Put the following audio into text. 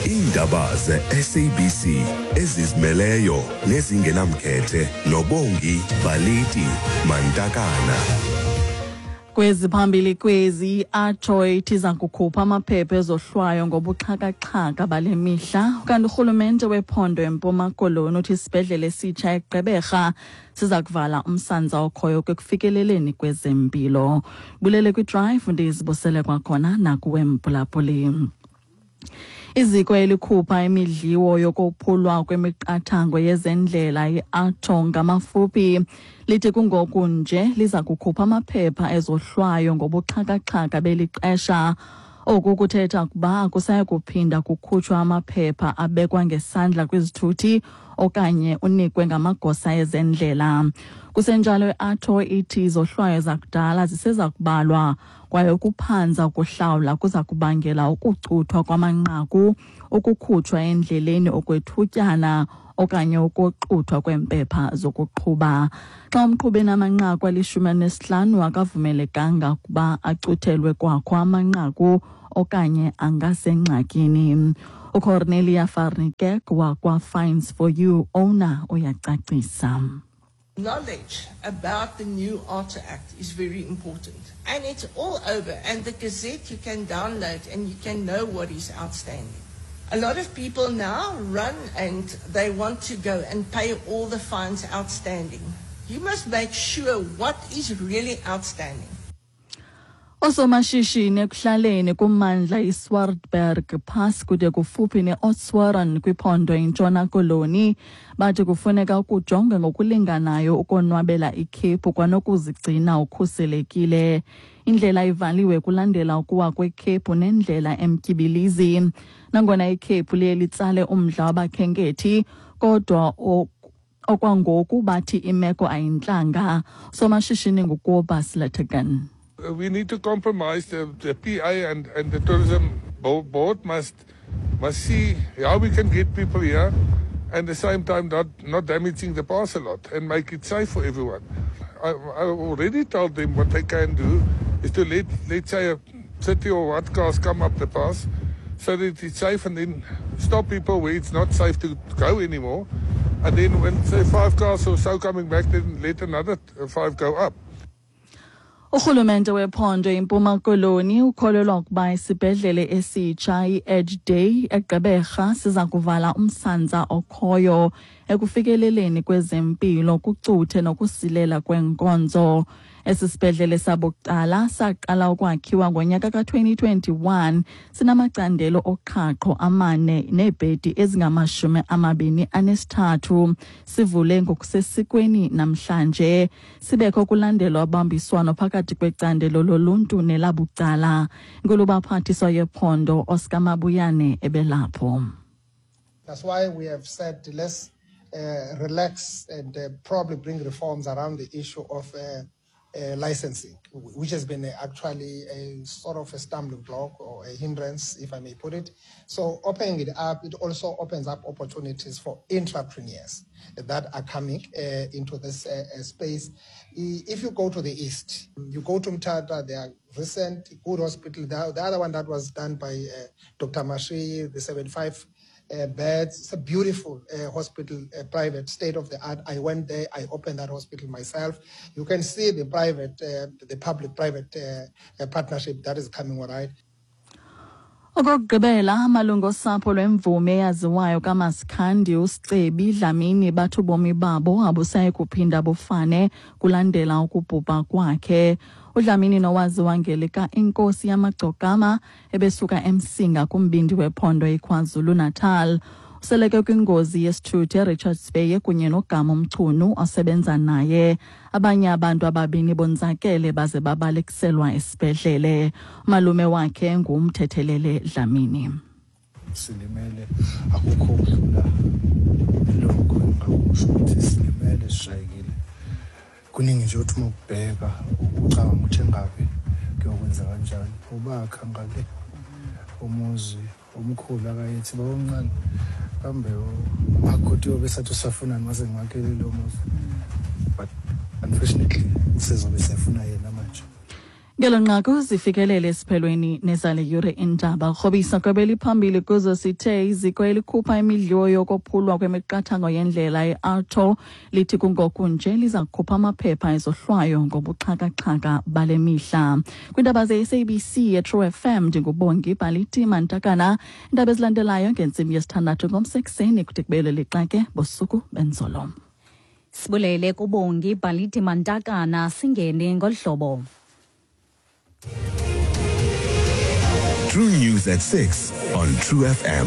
Iindaba ze-SABC ezizimeleyo nezingenamkhethe noBongi Baliti Mantakana. Kwezi phambili kwezi, i-ATO ithi iza kukhupha amaphepha ezohlwayo ngobuxhakaxhaka bale mihla. Kanti urhulumente wephondo eMpuma Koloni uthi isibhedlele esitsha eGqeberha siza kuvala umsantsa okhoyo ekufikeleleni kwezempilo. Bulele kwiDrive, ndizibusele kwakhona nakuwe mphulaphuli. Iziko elikhupha imidliwo yokophulwa kwemiqathango yezendlela i-ATO ngamafuphi lithi kungoku nje liza kukhupha amaphepha ezohlwayo ngobuxhakaxhaka beli xesha. Oku kuthetha ukuba akusayi kuphinda kukhutshwa amaphepha abekwa ngesandla kwizithuthi okanye unikwe ngamagosa ezendlela. Kusenjalo, i-ATO ithi izohlwayo zakudala ziseza kubalwa kwaye ukuphanza ukuhlawula kuza kubangela ukucuthwa kwamanqaku, ukukhutshwa endleleni okwethutyana okanye ukoxuthwa kweempepha zokuqhuba. Xa umqhubi enamanqaku ali-15 akavumelekanga ukuba acuthelwe kwakho amanqaku okanye angasengxakini. UCornelia Farnikek wakwa-Fines for You owner uyacacisa. Knowledge about the new ARTA Act is very important. And it's all over. And the Gazette you can download and you can know what is outstanding. A lot of people now run and they want to go and pay all the fines outstanding. You must make sure what is really outstanding. Oosomashishini ekuhlaleni kummandla iSwartberg Pass kude kufuphi ne-Oudtshoorn kwiphondo iNtshona Koloni bathi kufuneka ukujongwe ngokulinganayo ukonwabela ikhephu kwanokuzigcina ukhuselekile. Indlela ivaliwe kulandela ukuwa kwekhephu nendlela emtyibilizi. Nangona ikhephu liye litsale umdla wabakhenkethi, kodwa okwangoku bathi imeko ayintlanga. Somashishini nguKobus Lategan. We need to compromise. The PA and the tourism board must see how we can get people here and at the same time not damaging the pass a lot and make it safe for everyone. I already told them what they can do is to let, let's say, a 30 or what cars come up the pass so that it's safe, and then stop people where it's not safe to go anymore. And then when, say, five cars or so coming back, then let another five go up. Urhulumente wephondo iMpuma Koloni ukholelwa ukuba isibhedlele esitsha i-Edge Day eGqeberha siza kuvala umsantsa okhoyo ekufikeleleni kwezempilo, kucuthe nokusilela kweenkonzo. Esi sibhedlele sabucala saqala ukwakhiwa ngonyaka ka-2021, sinamacandelo oqhaqho amane neebhedi ezingama-23. Sivule ngokusesikweni namhlanje, sibekho kulandelwa ubambiswano phakathi kwecandelo loluntu nelabucala. Inkulubaphathiswa yephondo Oscar Mabuyane ebelapho. That's why we have said let's relax and probably bring reforms around the issue of licensing, which has been actually a sort of a stumbling block or a hindrance, if I may put it. So opening it up, it also opens up opportunities for entrepreneurs that are coming into this space. If you go to the east, you go to Mthatha, there are recent good hospital. The other one that was done by Dr. Mashiyi, the 75 beds. It's a beautiful hospital, private, state of the art. I went there. I opened that hospital myself. You can see the public-private partnership that is coming, all right. Okokugqibela, amalungu osapho lwemvumi eyaziwayo kaMasikhandi uSicebi Dlamini bathi ubomi babo abusayi kuphinda bufane kulandela ukubhubha kwakhe. UDlamini, nowaziwa ngelika Inkosi Yamagcokama, ebesuka eMsinga kumbindi wephondo iKwaZulu-Natal. Useleke kwingozi yesithuthi eRichards Bay kunye noGama Mchunu osebenza naye. Abanye abantu ababini bonzakele baze babalekiselwa esibhedlele. Umalume wakhe nguMthethelele Dlamini. Silimele, akukho ukudlula lokho engingakusho ukuthi silimele, sishayekile kuningi nje. Uthi uma ukubheka ucabanga ukuthi engabe kuyokwenza kanjani, ubakha ngale umuzi omkhulu akayethi bawomncane kambe umakoti yobe sathi usafunani mase ngiwakhele lo muzi, but unfortunately usezobe sefuna yena manje. Ngelo nqaku zifikelele esiphelweni nezale yure iindaba. Rhobisa kwebeliphambili kuzo sithe iziko elikhupha imidliwo yokophulwa kwemiqathango yendlela i-AARTO lithi kungoku nje liza kukhupha amaphepha ezohlwayo ngobuxhakaxhaka bale mihla. Kwiindaba ze-SABC yeTrue FM, ndinguBongi Baliti Mantakana. Iindaba ezilandelayo ngentsimbi yesithandathu ngomsekuseni, kude kubele lixa ke bosuku benzolo. Sibulele kuBongi Baliti Mantakana. Singene ngolu hlobo. True News at 6 on True FM.